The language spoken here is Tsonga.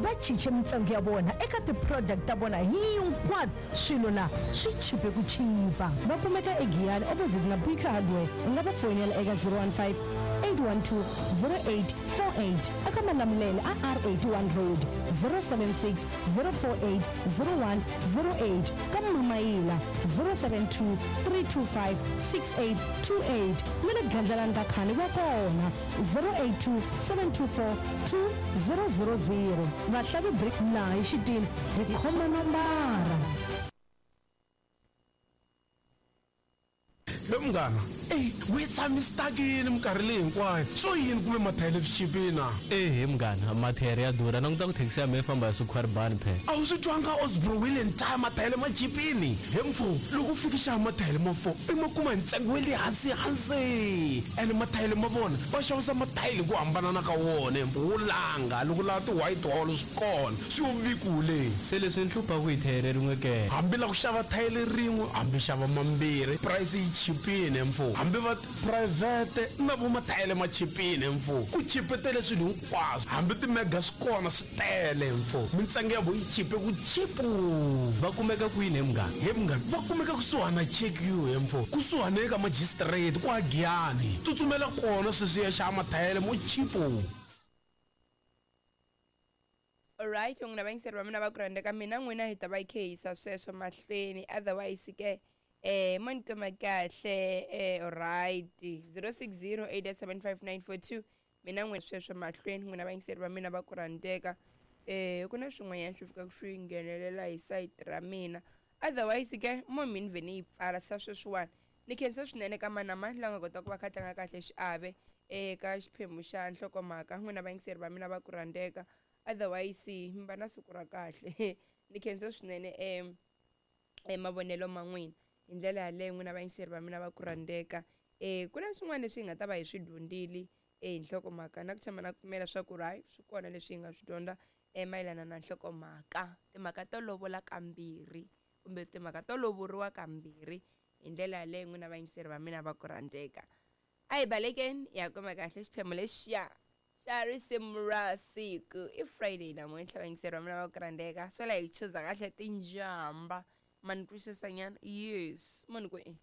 Va chiche mintsengo ya vona eka ti-product ta vona hinkwato. Swilo la swi chipe ku chipa. Va kumeka eGiyani opposite na Biko Hardware. U nga va foyinela eka 015 812 0848 eka Malamulele a R81 Road, 076 048 0108 ka Mamayila, 072 325 6828 na le Gandlalani ka Khani va kona, 082 724 2000. Vahlavi Brick laha hi xitini hi khoma nombara. He munghana, ey we tshami stuck-ini minkarhi leyi hinkwayo, swo yini ku ve mathayele swi chipile na? Ehe munghana, mathayere ya durha, languta ku thekisi ya mehe yi famba hi swikhwaribani phela. A wu swi twanga Osbro Wheel and Tyre mathayele ma chipini? He mfo, loko u fika xava mathayele ma 4 i ma kuma hi ntsengo wa le hansi hansi. Ene mathayele ma vona va xavisa mathayele hi ku hambanana ka wona, he mfo wo langa loko u lava ti white wall swi kona, swi yo vikule. Se leswi ni hluphaku hi thayere rin'we ke? Hambi la ku xava thayele rin'we hambi xava mambirhi price yi chipile mfo. Hambi va private na vo mathayele ma chipile mfo. Ku chipetele swilo hinkwaswo hambi ti mega swi kona swi tele mfo. Mintsengo ya vo yi chipe ku chipu. Va kumeka kwini he munghana? He munghana va kumeka kusuhani na Check You he mfo. Kusuhani eka magistrate kwa Giyani. Tsutsumela kona sweswi ya xava mathayele mo chipu. Alright n'wina vayingiseri va mina va ku rhandza ka mina n'wina hi ta va hi khe hi yisa sweswo mahlweni otherwise ke eh mo ni kuma kahle eh alright 060 875 mina n'wina sweswo mahlweni n'wina vayingiseri va mina va ku rhandzeka eh ku na swin'wanyana swi fika swi nghenelela hi sayiti ra mina otherwise ke mo mi ni vhe ni yi pfala sa sweswiwani ni khensa swinene ka mani na mani la nga kota ku va kha tlanga kahle xiave eka xiphemu xa nhlokomhaka n'wina vayingiseri va mina va ku rhandzeka otherwise mi va na siku ra kahle ni khensa swinene um e mavonelo ma n'wina hi ndlela yaleyo n'wina vayingiseri va mina va ku rhandzeka um ku na swin'wana leswi hi nga ta va hi swi dyondzile e hi nhlokomhaka na ku tshama na ku pfumela swa ku ri hayi swi kona leswi hi nga swi dyondza e mayelana na nhlokomhaka timhaka to lovola kambirhi kumbe timhaka to lovoriwa kambirhi hi ndlela yaleyo n'wina vayingiseri va mina va ku rhandzeka a hi balekeni hi ya kuma kahle xiphemu lexiya xa risimu ra siku i Friday namuntlha vayingiseri va mina va ku rhandzeka swo la hi chuza kahle tinjamba ma ni twisisa nyana yes mo ni ku i.